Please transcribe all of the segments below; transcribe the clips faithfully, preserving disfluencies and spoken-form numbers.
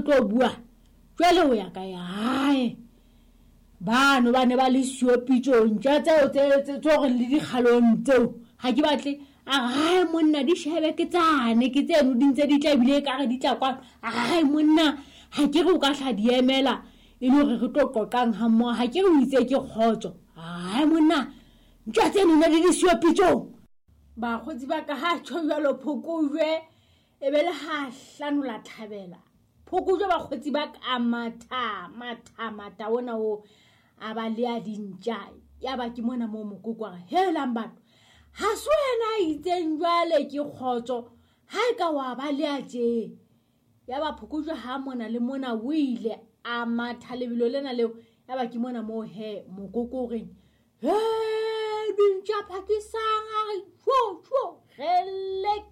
tlo bua jwale ho ya kae? Hae, bano ba ne ba le siyo pitsong, ntja tseo tse tse tse hore le dikgalong tseo ha ke batle. A re hae monna, di shebe ke tsane, ke tseno di ntse di tla, ebile ekare di tla kwano. A re hae monna, ha ke re o ka hla di emela e le hore re tlo qoqang ha mmoho, ha ke re o itse ke kgotso. Hae monna, ntja tseno ne di le siyo pitsong. Bakgotsi ba ka ha tjho jwalo phokojwe e be le ha hlanola thabela. Phokojwe bakgotsi ba ka matha matha matha ona o a ba le a dintja. Ya ba ke mona moo mokoko a re helang batho, ha se wena a itseng jwale ke kgotso, ha e ka wa ba le a tje. Ya ba phokojwe ha mona le mona o ile a matha lebelo lena leo. Ya ba ke mona moo he mokoko o reng he dintja phakisang, a re tjho tjho relek.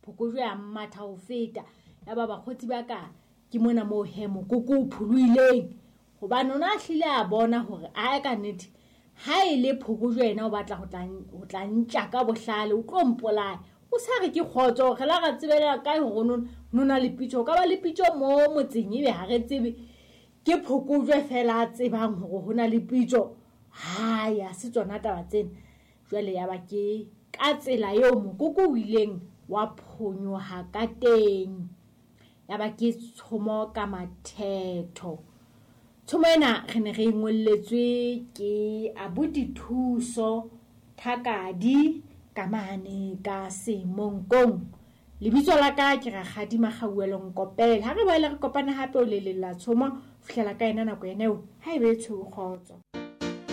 Phokojwe a matha ho feta. Ya ba bakgotsi ba ka ke mona moo he mokoko o pholoileng, hobane o na hlile a bona hore a ka nnete ha e le phokojwe yena o batla ho tla ho tla ntja ka bohlale, o tlo mpolaya. O sa re ke kgotso, re la ra tsebela kae hore no no na le pitso, o ka ba le pitso mo motseng ebe ha re tsebe, ke phokojwe fela a tsebang hore ho na le pitso. Hai, ha se tsona taba tsena. Jwale ya ba ke ka tsela eo mokoko o ileng wa phonyoha ka teng. Ya ba ke tshomo ka mathetho. Tshomo ena re ne re e ngolletswe ke abuti Thuso Thakadi ka mane ka Semonkong. Lebitso la ka ke Rakgadi Makgauwelo Nkopela. Ha re boele re kopane hape o le leng la tshomo, fihlela ka ena nako ena eo, ha e be tshweu kgotso.